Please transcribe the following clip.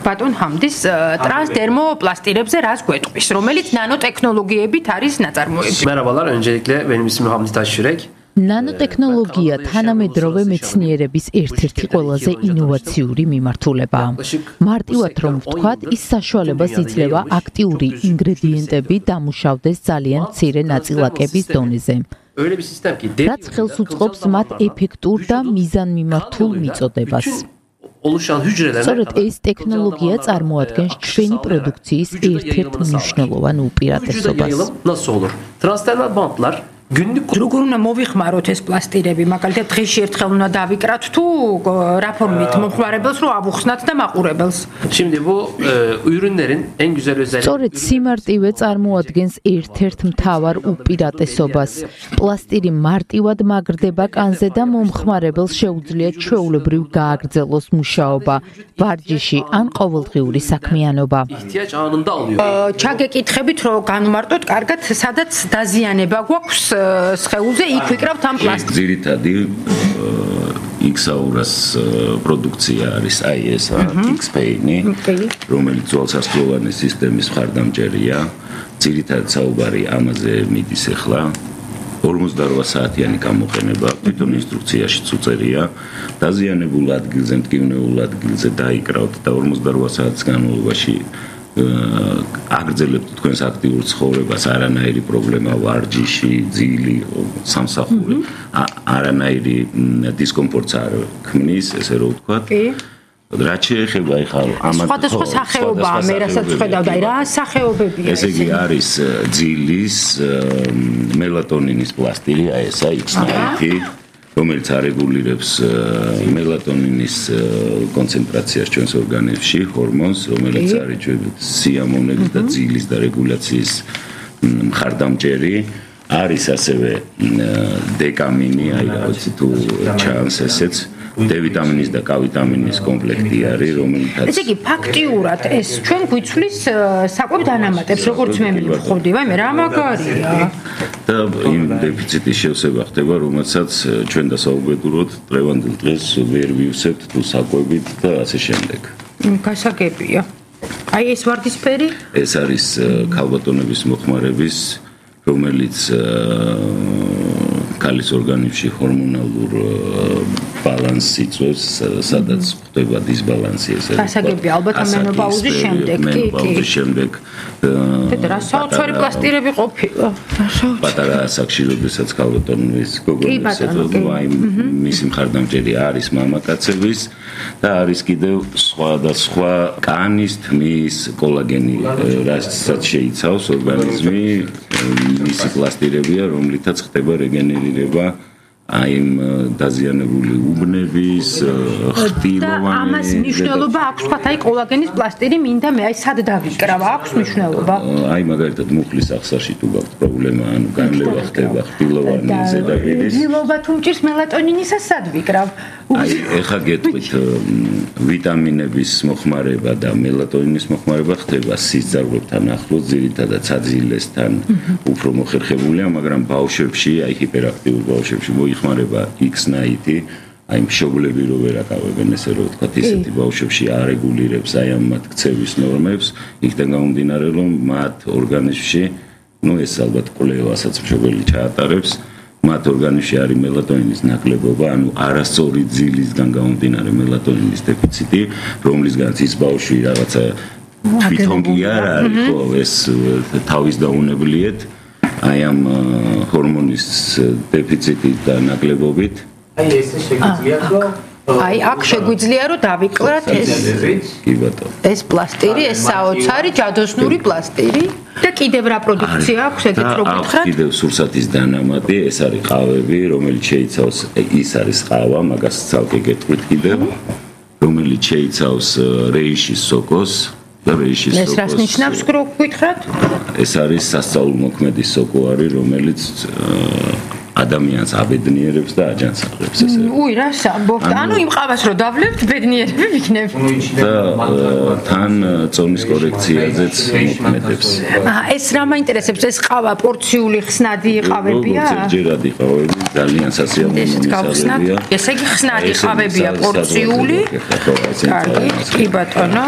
ბატონ ჰამდის ტრანსდერმოპლასტირებზე რას გვეტყვის, რომელიც ნანოტექნოლოგიებით არის ნაწარმოები? Merhabalar, öncelikle benim ismim Hamdi Taşyürek. ნანოტექნოლოგია თანამედროვე მეცნიერების ერთ-ერთი ყველაზე ინოვაციური მიმართულებაა. მარტივად რომ ვთქვათ, ის საშუალებას იძლევა აქტიური ინგრედიენტები დამუშავდეს ძალიან მცირე ნაწილაკების დონეზე. რაც ხელს უწყობს მათ ეფექტურ და მიზანმიმართულ მიწოდებას. სწორედ ეს ტექნოლოგია წარმოადგენს ჩვენი პროდუქციის ერთ-ერთ მნიშვნელოვან უპირატესობას. როგორ უნდა მოვიხმაროთ ეს პლასტირები, მაგალითად დღეში ერთხელ უნდა დავიკრათ თუ რა ფორმით მომხმარებელს რომ ავუხსნათ და მაყურებელს? სწორედ სიმარტივე წარმოადგენს ერთ-ერთ მთავარ უპირატესობას. პლასტირი მარტივად მაგრდება კანზე და მომხმარებელს შეუძლია ჩვეულებრივ გააგრძელოს მუშაობა, ვარჯიში ან ყოველდღიური საქმიანობა. ჩაგეკითხებით რომ განვმარტოთ კარგად, სადაც დაზიანება გვაქვს სხეულზე, იქ ვიკრავთ ამ პლასტიკს. ძირითადი X-Auras პროდუქცია არის აი ეს X-Paint-ი, რომელიც ძვალსასწავლოვანი სისტემის მხარდამჭერია. ძირითადად საუბარი ამაზე მიდის ახლა. 48 საათიანი გამოყენება, თვითონ ინსტრუქციაშიც უწერია, დაზიანებულ ადგილზე, მტკივნეულ ადგილზე დაიკრავთ და 48 საათის განმავლობაში აგრძელებთ თქვენს აქტიურ ცხოვრებას, არანაირი პრობლემა ვარჯიში, ძილი, სამსახური, არანაირი დისკომფორტს არ ქმნის, ესე რომ ვთქვათ. რაც შეეხება ახლა ამათ სხვადასხვა სახეობაა, მე რასაც ვხედავ და რა სახეობებია ეს? ესე იგი არის ძილის, მელატონინის პლასტირი, აი ესა X-Night, რომელიც არეგულირებს მელატონინის კონცენტრაციას ჩვენს ორგანიზმში, ჰორმონს, რომელიც არის ჩვენი სიამოვნების და ძილის და რეგულაციის მხარდამჭერი. არის ასევე დეკამინი, აი რა ვიცი თუ ჩანს ესეც. D-ვიტამინის და K-ვიტამინის კომპლექტი არის, რომელთაც ესე იგი ფაქტიურად ეს ჩვენ გვიცვლის საკვებ დანამატებს, როგორც მე მივხვდი, ვაიმე რა მაგარია. და იმ დეფიციტის შევსება ხდება, რომელსაც ჩვენ დასაუბრებლად დღევანდელ დღეს ვერ ვივსებთ თუ საკვებით და ასე შემდეგ. გასაგებია. აი ეს ვარდისფერი? ეს არის ქალბატონების მოხმარების, რომელიც ქალის ორგანიზმში ჰორმონალურ ბალანსს იწვევს, სადაც ხდება დისბალანსი ესე. გასაგებია, ალბათ მენოპაუზის შემდეგ, კი. მენოპაუზის შემდეგ. და საოცარი პლასტირები ყოფილა. პატარა ასაკში, როდესაც ქალბატონის გოგონის აი მისი მხარდამჭერი არის მამაკაცების და არის კიდევ სხვა კანის, თმის, კოლაგენი, რასაც შეიცავს ორგანიზმი, მისი პლასტირებია, რომლითაც ხდება რეგენერირება აი დაზიანებული უბნების, ხტილოვანი. ამას მნიშვნელობა აქვს, თქვათ, აი კოლაგენის პლასტირი მინდა მე აი სად დავიკრავ, აქვს მნიშვნელობა? აი მაგალითად მუხლის ახსაში თუ გაქვთ პრობლემა, ანუ განლევა ხდება ხტილოვანი ზედაპირის. დილობა თუ მჭირს მელატონინისა სად ვიკრავ? აი ეხა გეტყვით ვიტამინების მოხმარება და მელატონინის მოხმარება ხდება სისხლძარღვებთან ახლოს, ძირითადად საძილესთან უფრო მოხერხებულია, მაგრამ ბავშვებში, აი ჰიპერაქტიურ ბავშვებში მოიხმარება X-Night-ი, აი მშობლები რო ვერ აკავებენ ესე რომ ვთქვათ, ისეთი ბავშვებში არეგულირებს აი ამ მათ ქცევის ნორმებს, იქიდან გამომდინარე რომ მათ ორგანიზმში, ну ეს ალბათ კვლევასაც მშობელი ჩაატარებს, მათ ორგანიზმში არის მელატონინის ნაკლებობა, ანუ არასწორი ძილისგან გამომდინარე მელატონინის დეფიციტი, რომლისგანაც ის ბავშვი რაღაცა თვითონ კი არ არის, ხო, ეს თავის დაუნებლიეთ აი ამ ჰორმონის დეფიციტით და ნაკლებობით. აი ეს შეგვიძლია რომ აი აქ შეგვიძლია რომ დავიკლათ ეს. კი ბატონო. ეს პლასტირი, ეს საოცარი ჯადოსნური პლასტირი და კიდევ რა პროდუქცია აქვს ეგეთ რო გითხრათ? კიდევ სურსათის დანამატი, ეს არის ყავები, რომელიც შეიცავს, ის არის ყავა, მაგას ცალკე გეტყვით კიდევ, რომელიც შეიცავს რეიშის სოკოს. ეს რას ნიშნავს რო გითხრათ? ეს არის სასწაულმოქმედი სოკო არის, რომელიც ადამიანს აბედნიერებს და აჯანსაღებს ესე. უი, რას ამბობთ? ანუ იმ ყავას რო დავლევთ, ბედნიერები ვიქნებ. და თან წონის კორექციაზეც მოქმედებს. ეს რა მაინტერესებს? ეს ყავა პორციული ხსნადი ყავებია? ზოგჯერად იყავები, ძალიან სასიამოვნოა. ესე იგი ხსნადი ყავებია პორციული. კარგი, კი ბატონო.